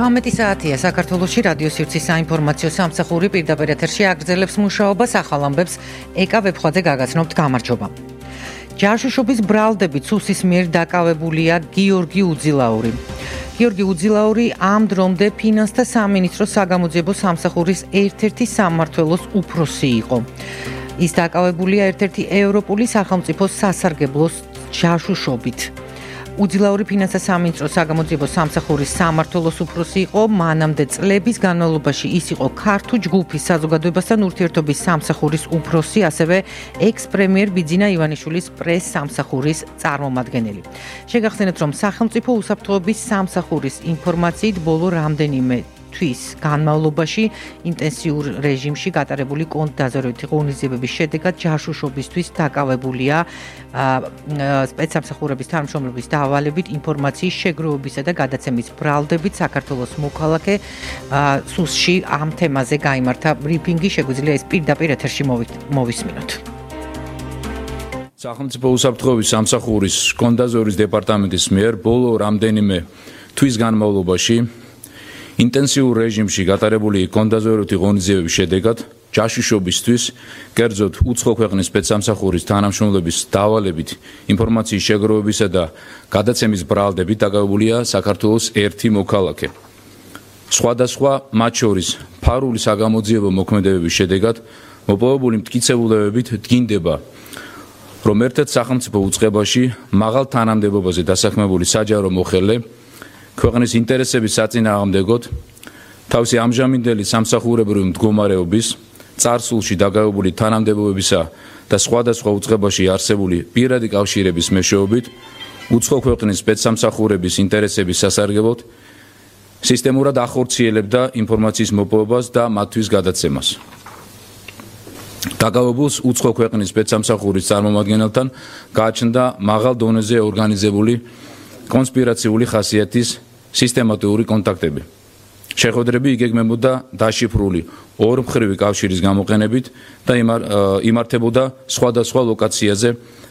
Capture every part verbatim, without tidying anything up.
შვიდ საათია საქართველოში რადიო სივრცის საინფორმაციო სამსახური პირდაპირ ეთერში აგრძელებს მუშაობას ახალ ამბებს ეკა ვებხვაძე გაგაცნობთ გამარჯობა. ჯაშუშობის ბრალდებით სუსის მიერ დაკავებულია გიორგი უძილაური. გიორგი უძილაური ამ დრომდე ფინანსთა სამინისტროს საგამოძიებო სამსახურის ერთ-ერთი სამმართველოს უფროსი იყო. ის დაკავებულია ერთ-ერთი ევროპული სახელმწიფო სასარგებლოს ჯაშუშობით. უძილაური ფინანსთა სამინისტროს საგამოძიებო სამსახურის სამმართველოს უფროსი იყო, მანამდე წლების განმავლობაში ის იყო ქართულ ჯგუფის საზოგადოებასთან ურთიერთობის სამსახურის უფროსი, ასევე ექს-პრემიერ ბიძინა ივანიშვილის პრეს სამსახურის წარმომადგენელი. შეგახსენებთ, რომ სახელმწიფო უსაფრთხოების სამსახურის ინფორმაციით ბოლო რამდენიმე თვის განმავლობაში ინტენსიურ რეჟიმში გატარებული კონტრდაზვერვითი ღონისძიებების შედეგად ჯაშუშობისთვის დაკავებულია სპეცსამსახურების თანამშრომლობის დავალებით ინფორმაციის შეგროვებისა და გადაცემის ბრალდებით საქართველოს მოქალაქე სუსში ამ თემაზე გაიმართა ბრიფინგი, შეგვიძლია ეს პირდაპირ ეთერში მოვისმინოთ. სახელმწიფო უსაფრთხოების სამსახურის კონტრდაზვერვის დეპარტამენტის მიერ ბოლო რამდენიმე თვის განმავლობაში ინტენსიურ რეჟიმში გატარებული კონტრდაზვერვითი ღონისძიებების შედეგად ჯაშუშობისთვის, კერძოდ უცხო ქვეყნის სპეცსამსახურის თანამშრომლების დავალებით ინფორმაციის შეგროვებისა და გადაცემის ბრალდებით დაკავებულია საქართველოს ერთი მოქალაქე. სხვადასხვა მათ შორის ფარული საგამოძიებო მოქმედებების შედეგად მოპოვებული მტკიცებულებებით დგინდება, რომ ერთ-ერთ სახელმწიფო უწყებაში მაღალ თანამდებობაზე დასაქმებული საჯარო მოხელე ქვეყნის ინტერესების საწინააღმდეგოდ თავისი ამჟამინდელი სამსახურებრივი მდგომარეობის, წარსულში დაკავებული თანამდებობებისა და სხვადასხვა უწყებაში არსებული პირადი კავშირების მეშვეობით უცხო ქვეყნის სპეცსამსახურების ინტერესების სასარგებლოდ სისტემურად ახორციელებდა ინფორმაციის მოპოვებას და მათთვის გადაცემას. დაკავებულს უცხო ქვეყნის სპეცსამსახურის წარმომადგენელთან გააჩნდა მაღალ დონეზე ორგანიზებული კონსპირაციული ხასიათის სისტემატიური კონტაქტები. შეხვედრები იგეგმებოდა დაშიფრული ორმხრივი კავშირის გამოყენებით და იმართებოდა სხვადასხვა ლოკაციაზე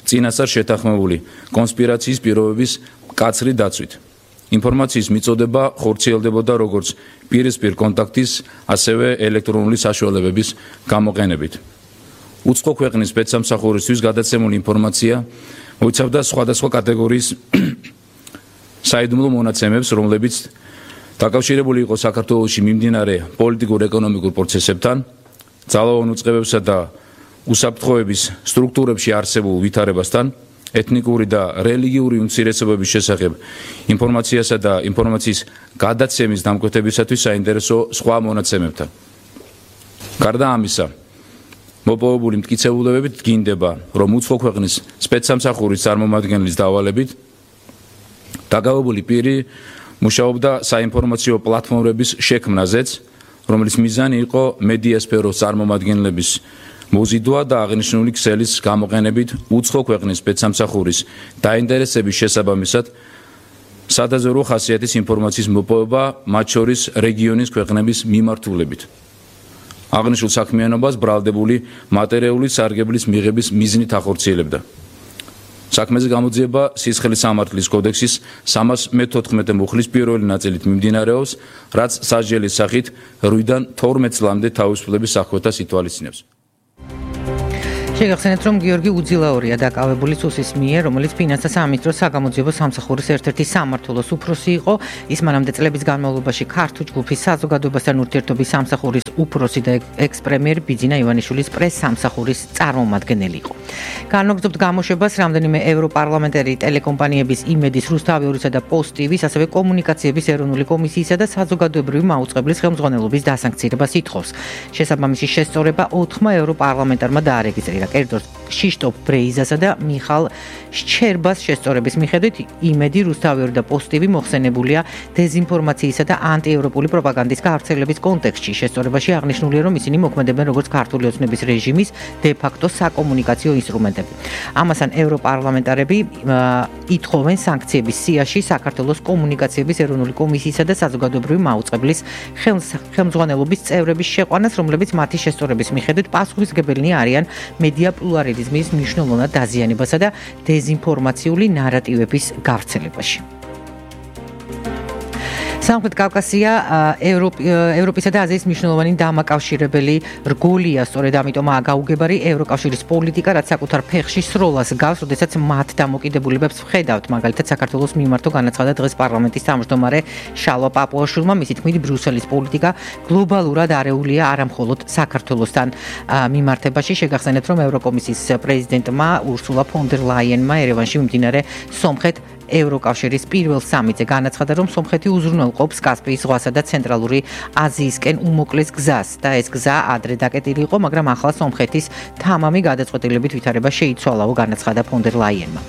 წინასწარ შეთანხმებული კონსპირაციის პირობების მკაცრი დაცვით. ინფორმაციის მიწოდება ხორციელდებოდა როგორც პირისპირ კონტაქტის, ასევე ელექტრონული საშუალებების გამოყენებით. უცხო ქვეყნის სპეცსამსახურისთვის გადაცემული ინფორმაცია მოიცავდა სხვადასხვა კატეგორიის საიდუმლო მონაცემებს, რომლებიც დაკავშირებული იყო საქართველოში მიმდინარე პოლიტიკურ-ეკონომიკურ პროცესებთან, ძალოვან უწყებებსა და უსაფრთხოების სტრუქტურებში არსებულ ვითარებასთან, ეთნიკური და რელიგიური უმცირესობების შესახებ ინფორმაციასა და ინფორმაციის გადაცემის დამკვეთებისათვის საინტერესო სხვა მონაცემებთან. გარდა ამისა, მოპოვებული მტკიცებულებებით დგინდება, რომ უცხო ქვეყნის სპეცსამსახურის წარმომადგენლის დავალებით დაკავებული პირი მუშაობდა საინფორმაციო პლატფორმების შექმნაზეც, რომლის მიზანი იყო მედიასფეროს წარმომადგენლების მოზიდვა და აღნიშნული ქსელის გამოყენებით უცხო ქვეყნის სპეცსამსახურის დაინტერესების შესაბამისად სადაზვერვო ხასიათის ინფორმაციის მოპოვება, მათ შორის რეგიონის ქვეყნების მიმართულებით. აღნიშნულ საქმიანობას ბრალდებული მატერიული სარგებლის მიღების მიზნით ახორციელებდა. საქმეზე გამოძიება სისხლის სამართლის კოდექსის სამას მეთოთხმეტე მუხლის პირველი ნაწილით მიმდინარეობს, რაც სასჯელის სახით რვიდან თორმეტ წლამდე თავისუფლების აღკვეთას ითვალისწინებს. შეგახსენებთ, რომ გიორგი უძილაურია დაკავებული სუსის მიერ, რომელიც ფინანსთა სამინისტროს საგამოძიებო სამსახურის ერთ-ერთი სამმართველოს უფროსი იყო. ის მანამდე წლების განმავლობაში ქართულ ჯგუფის საზოგადოებასთან ურთიერთობის სამსახურის უფროსი და ექს-პრემიერ ბიძინა ივანიშვილის პრეს სამსახურის წარმომადგენელი იყო. განვაგრძობთ გამოშვებას რამდენიმე ევროპარლამენტარი ტელეკომპანიების იმედის, რუსთავიურისა და პოსტ ტივის, ასევე კომუნიკაციების ეროვნული კომისიისა და საზოგადოებრივი მაუწყებლის ხელმძღვანელობის დასანქცირებას ითხოვს. შესაბამისი შესწორება ოთხმა ევროპარლამენტარმა დაარეგისტრირა. კერძოდ შიშტოფ ბრეიზასა და მიხალ შჩერბას შესწორების მიხედვით იმედი, რუსთავიური და პოსტ ტივი მოხსენებულია დეზინფორმაციისა და ანტიევროპული პროპაგანდის გავრცელების კონტექსტში. შესწორებაში აღნიშნულია, რომ ისინი მოქმედებენ როგორც ქართული ოცნების რეჟიმის დე-ფაქტო საკომუნიკაციო ინსტრუმენტები. ამასთან ევროპარლამენტარები ითხოვენ სანქციების სიაში საქართველოს კომუნიკაციების ეროვნული კომისიისა და საზოგადოებრივი მაუწყებლის ხელმძღვანელობის წევრების შეყვანას, რომლებიც მათი შესწორების მიხედვით პასუხისმგებელნი არიან მედია პლურალიზმის მნიშვნელოვნად დაზიანებასა და დეზინფორმაციული ნარატივების გავრცელებაში. სამხრეთ კავკასია ევროპისა და აზიის მნიშვნელოვანი დამაკავშირებელი რგოლია, სწორედ ამიტომაა გაუგებარი ევროკავშირის პოლიტიკა, რაც საკუთარ ფეხში სროლას გავს, როდესაც მათ დამოკიდებულებებს ვხედავთ. მაგალითად, საქართველოს მიმართო განაცხადა დღეს პარლამენტის თავმჯდომარე შალვა პაპუაშვილმა, მისი თქმით, ბრიუსელის პოლიტიკა გლობალურად არეულია არა მხოლოდ საქართველოსთან მიმართებაში. შეგახსენებთ, რომ ევროკომისიის პრეზიდენტმა ურსულა ფონ დერ ლაიენმა ერევანში მიმდინარე სომხეთ ევროკავშირის პირველ სამიტზე განაცხადა, რომ სომხეთი უზრუნველყოფს კასპიის ზღვასა და ცენტრალური აზიისკენ უმოკლეს გზას და ეს გზა ადრე დაკეტილი იყო, მაგრამ ახლა სომხეთის თამამი გადაწყვეტილებით ვითარება შეიცვალაო, განაცხადა ფონ დერ ლაიენმა.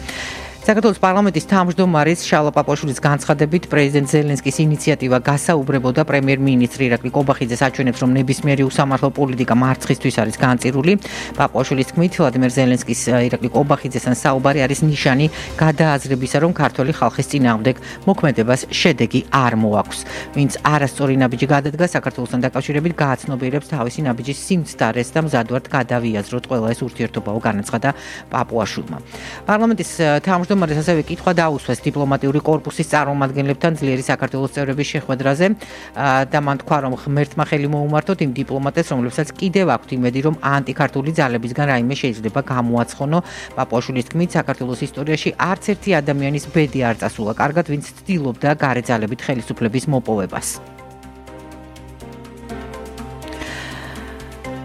საქართველოს პარლამენტის თავმჯდომარის შალვა პაპუაშვილის განცხადებით პრეზიდენტ ზელენსკის ინიციატივა გასაუბრებოდა პრემიერ-მინისტრი ირაკლი კობახიძეს აჩვენებს, რომ ნებისმიერი უსამართლო პოლიტიკა მარცხისთვის არის განწირული. პაპუაშვილის თქმით, ვლადიმერ ზელენსკის ირაკლი კობახიძესთან საუბარი არის ნიშანი გადააზრებისა, რომ ქართველი ხალხის წინააღმდეგ მოქმედებას შედეგი არ მოაქვს. ვინც არასწორი ნაბიჯი გადადგა საქართველოსთან დაკავშირებით, გააცნობიერებს თავისი ნაბიჯის სიმცდარეს და მზადვართ გადავიაზროთ ყველა ეს ურთიერთობაო, განაცხადა პაპუაშვილმა. პარლამენტის თავმჯდომარე მდგომარეს ასევე კითხვა დაუსვეს დიპლომატიური კორპუსის წარმომადგენლებთან ძლიერი საქართველოს წევრების შეხვედრაზე და მან თქვა, რომ ღმერთმა ხელი მოუმართოთ იმ დიპლომატებს, რომლებსაც კიდევ აქვთ იმედი, რომ ანტიქართული ძალებისგან რაიმე შეიძლება გამოაცხონო. პაპუაშვილის თქმით, საქართველოს ისტორიაში არც ერთი ადამიანის ბედი არ წასულა კარგად, ვინც ცდილობდა გარე ძალებით ხელისუფლების მოპოვებას.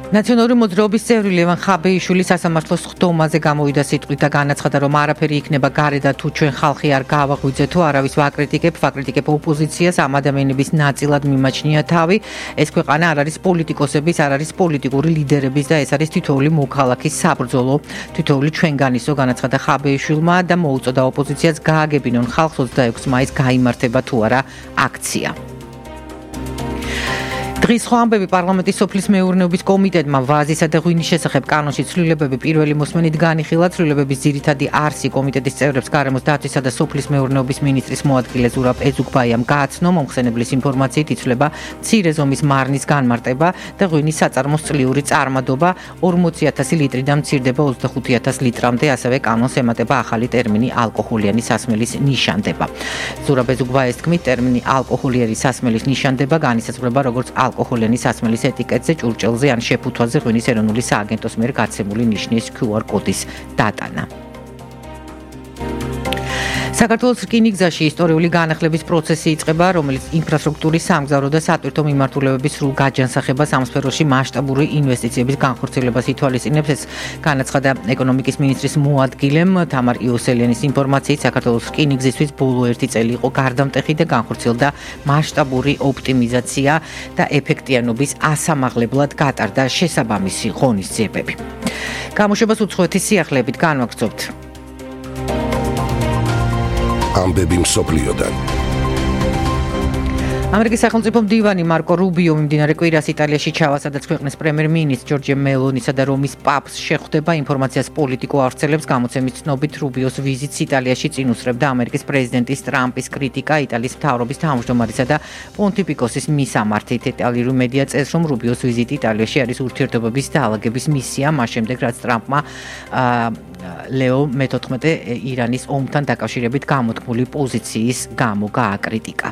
ნაციონალური მოძრაობის წევრი ლევან ხაბეიშვილი სასამართლოს ხდომაზე გამოვიდა სიტყვით და განაცხადა, რომ არაფერი იქნება გარეთ თუ ჩვენ ხალხი არ გავაღვიძეთ თუ არავის ვაკრიტიკებ, ვაკრიტიკებ ოპოზიციას, ამ ადამიანების ნაწილად მიმაჩნია თავი. ეს ქვეყანა არ არის პოლიტიკოსების, არ არის პოლიტიკური ლიდერების და ეს არის თითოეული მოქალაქის საბრძოლო, თითოეული ჩვენგანისო, განაცხადა ხაბეიშვილმა და მოუწოდა ოპოზიციას გააგებინონ ხალხს ოცდაექვსი მაისს გაიმართება თუ არა აქცია. დღის სხვა ამბები პარლამენტის სოფლის მეურნეობის კომიტეტმა ვაზისა და ღვინის შესახებ კანონში ცვლილებები პირველი მოსმენით განიხილა. ცვლილებების ძირითადი არსი კომიტეტის წევრებს გარემოს დაცვისა და სოფლის მეურნეობის მინისტრის მოადგილე ზურაბ ეზუგბაიამ გააცნო. მომხსენებლის ინფორმაციით იცვლება მცირე ზომის მარნის განმარტება და ღვინის საწარმოს წლიური წარმადობა ორმოცი ათასი ლიტრიდან მცირდება ოცდახუთი ათასი ლიტრამდე, ასევე კანონს ემატება ახალი ტერმინი ალკოჰოლიანი სასმელის ნიშანდება. ზურაბ ეზუგბაიას თქმით, ტერმინი ალკოჰოლიანი სასმელის ნიშანდება განისაზღვრება როგორც ალკოჰოლიანი სასმელის ეტიკეტზე, ჭურჭელზე ან შეფუთვაზე ღვინის ეროვნული სააგენტოს მიერ გაცემული ნიშნის ქიუ არ კოდის დატანა. საქართველოს რკინიგზაში ისტორიული განახლების პროცესი იწყება, რომელიც ინფრასტრუქტურის სამგზავრო და სატვირთო მიმართულებების სრულ გაჯანსაღებას ამ სფეროში მასშტაბური ინვესტიციების განხორციელებას ითვალისწინებს. ეს განაცხადა ეკონომიკის მინისტრის მოადგილემ თამარ იოსელიანის ინფორმაციით, საქართველოს რკინიგზისთვის ბოლო ერთი წელი იყო გარდამტეხი და განხორციელდა მასშტაბური ოპტიმიზაცია და ეფექტიანობის ასამაღლებლად გატარდა შესაბამისი ღონისძიებები. გამოშვებას უცხოეთის სიახლეებით განვაგრძობთ. ამბები მსოფლიოდან. ამერიკის სახელმწიფო მდივანი მარკო რუბიო მიმდინარე კვირას იტალიაში ჩავა, სადაც ქვეყნის პრემიერ-მინისტრ ჯორჯია მელონისა და რომის პაპს შეხვდება. ინფორმაციას პოლიტიკო ავრცელებს გამოცემის ცნობით, რუბიოს ვიზიტს იტალიაში წინ უსწრებდა ამერიკის პრეზიდენტის ტრამპის კრიტიკა იტალიის მთავრობის თავმჯდომარისა და პონტიფიკოსის მისამართით. იტალიური მედია წერს, რომ რუბიოს ვიზიტი იტალიაში არის ურთიერთობების დაალაგების მისია, მას შემდეგ რაც ტრამპმა ლეო მეთოთხმეტე ირანის ომთან დაკავშირებით გამოთქმული პოზიციის გამო გააკრიტიკა.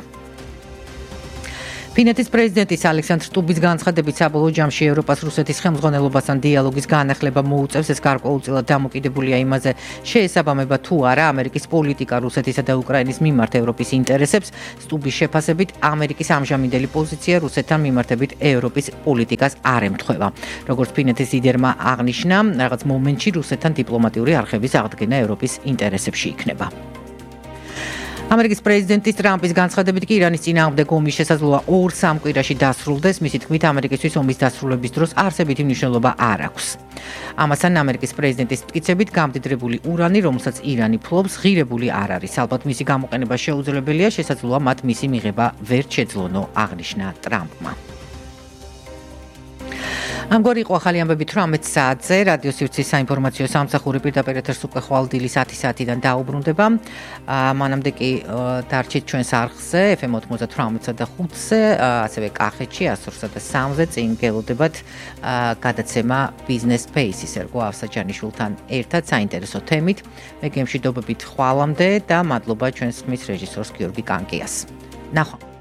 ფინეთის პრეზიდენტის ალექსანდრ სტუბის განცხადებით, საბოლოო ჯამში ევროპას რუსეთის ხელმძღვანელობასთან დიალოგის განახლება მოუწევს. ეს გარკვეულწილად დამოკიდებულია იმაზე, შეესაბამება თუ არა ამერიკის პოლიტიკა რუსეთისა და უკრაინის მიმართ ევროპის ინტერესებს. სტუბის შეფასებით, ამერიკის ამჟამინდელი პოზიცია რუსეთთან მიმართებით ევროპის პოლიტიკას არ ემთხვევა. როგორც ფინეთის ლიდერმა აღნიშნა, რაღაც მომენტში რუსეთთან დიპლომატიური არხების აღდგენა ევროპის ინტერესებში იქნება. ამერიკის პრეზიდენტის ტრამპის განცხადებით კი ირანის წინააღმდეგ ომის შესაძლოა ორ-სამ კვირაში დასრულდეს. მისი თქმით, ამერიკისთვის ომის დასრულების დროს არსებითი მნიშვნელობა არ აქვს. ამასთან ამერიკის პრეზიდენტის მტკიცებით, გამდიდრებული ურანი, რომელსაც ირანი ფლობს, ღირებული არ არის. ალბათ მისი გამოყენება შეუძლებელია, შესაძლოა მათ მისი მიღება ვერ შეძლონო, აღნიშნა ტრამპმა. ამგვარი იყო ახალი ამბები თვრამეტ საათზე. რადიო სივრცის საინფორმაციო სამსახური პირდაპირ ეთერს უკვე ხვალ დილის ათი საათიდან დაუბრუნდება. მანამდე კი დარჩით ჩვენს არხზე ეფ ემ ოცდათვრამეტსა და ხუთზე, ასევე კახეთში εκατს ორსა და სამზე წინ გელოდებათ გადაცემა Business Space-ის ერგო ავსაჯანიშვილთან ერთად საინტერესო თემით. მე გემშვიდობებით ხვალამდე და მადლობა ჩვენს ხმის რეჟისორს გიორგი კანკიას. ნახვა.